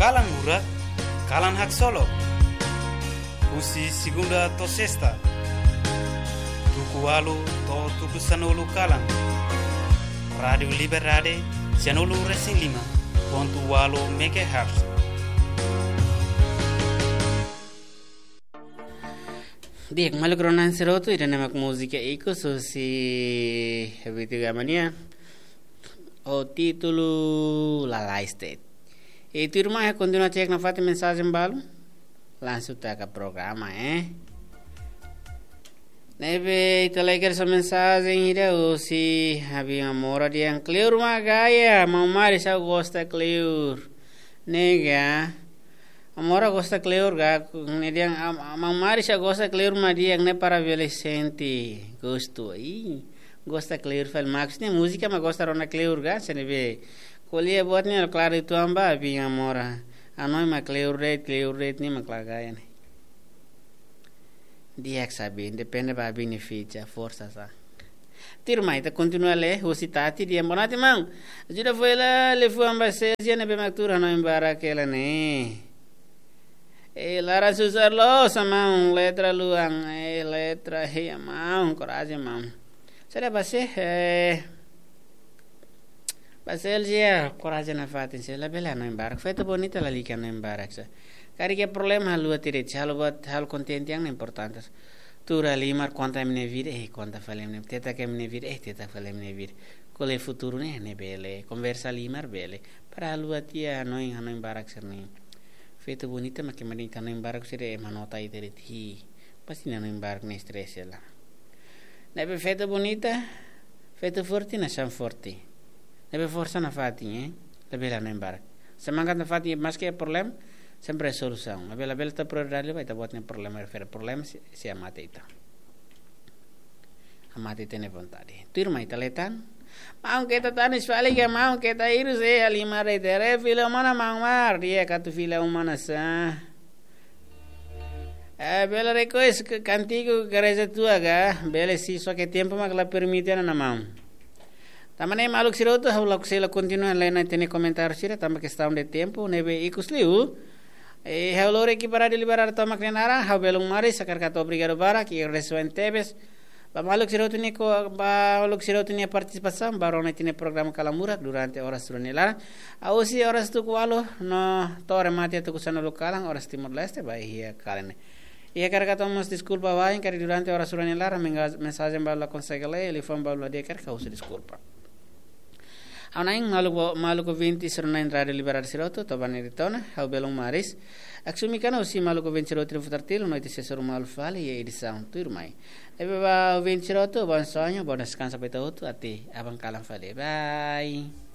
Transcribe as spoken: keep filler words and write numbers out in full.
Kalan Murak, kalan haksolok. Husi segunda to'o sesta, tuku ualu to'o tuku sanulu kalan. Rádiu Liberdade, sanulu resin lima pontu ualu megahertz. Di'ak, maluk rona sira hotu, ida-ne'e mak múzika ikus husi Habitu Gamania, ho títulu Lalais De'it. I tuirmai kontinua cek nafatin mensajen balu, langsung taka programa, eh. Ne'ebé ita lai hakerek mensajen ida husi Abi Amora dehan kleur mak gaya, maun Mari sá gosta kleur. Ne'e ga, Amora gosta kleur ga, ne'e dehan, am-, am-, maun Mari sá gosta kleur mak di'ak ne'e para bele sente gostu. Ih, gosta kleur fali, maksudnya múzika mak gosta rona kleur ga, se ne'ebé ko'alia buat ne'e klaru uitoan ba Abi Amora. Hanoin mak kleur de'it, kleur de'it ne'e mak la gaya ne'e. Di'ak sá, Abi, depende ba Abi nia ficha, forsa sá. Tuirmai, ita kontinua lee, husi Tati dehan: Boa noite, maun. Ajuda fó hela liafuan ba Celsia ne'ebé mak tuur hanoin barak hela ne'e. Eh, laran susar loos, maun, letra luan, eh, letra, hei, maun, korajen, maun. Sira ba se, eh, ba Celsia, korajen nafatin, se labele hanoin barak. Feto bonita lalika hanoin barak sá. Karik iha problema haluha tiha de'it, halo buat, halo kontente yang importante. Tuur halimar, konta imi-nia vida, eh, konta fali imi-nia, teta imi-nia vida, eh, teta fali imi-nia vida. Ko'alia futuru ne'e, ne'e bele, konversa halimar bele. Para haluha tiha hanoin, hanoin barak sira-ne'e. Feto bonita mak ema dehan hanoin barak sira, ema nota ita de'it, hi. Pasti hanoin barak ne'e stress hela. Ne'ebé feto bonita, feto forte nasaun forte. Ne'ebé forsa nafatin, eh. Labele hanoin barak. Semangat nafatin, maske problema, sempre solusaun. Labele, labele ita prioridade ba ita-boot nia problema, refere problema, se, se hamate ita. Hamate ita-nia vontade. Tuirmai ita lee tan. Maun, keta tanis fali ka, maun, keta hirus, eh, halimar ida-ne'e, fila umana, maun Mari, di'ak atu fila umana sá. Eh, bele request ke kántigu gereja tua ga, bele sin, só ke tempu mak la permite ona, maun. Tanba ne'e maluk sira hotu, ha'u lakohi sei la kontinua lee ita-nia komentáriu sira, tanba kestaun de tempu, ne'ebé ikus liu. Eh, ha'u lori ekipa Rádiu Liberdade tomak nia naran, ha'u belun Mari, hakarak atu obrigadu barak, i agradesimentu tebes ba maluk sira hotu nia ko-, ba maluk sira hotu nia partisipasaun ba rona ita-nia programa Kalan Murak durante oras rua nia laran. Husi oras tuku ualu no to'o remate tuku sanulu kalan, oras Timor-Leste, ba iha kalan ne'e. I hakarak atu mós deskulpa wa'in karik durante oras rua nia laran menga-, mensajen balu la konsege lee, liafuan balu la di'ak, hakarak husu deskulpa. Ha'u hanoin maluk bo-, maluk ouvinte sira na'in Rádiu Liberdade sira hotu, to'o ba ne'e de'it ona, ha'u belun Mari. Aksumi kana husi maluk ouvinte sira hotu nia futar tilu, no ita sei hasoru malu fali iha edisaun tuirmai. Ne'ebé ba ouvinte sira hotu, bom sonho, bom descanso ba ita hotu, até aban kalan fali. Bye.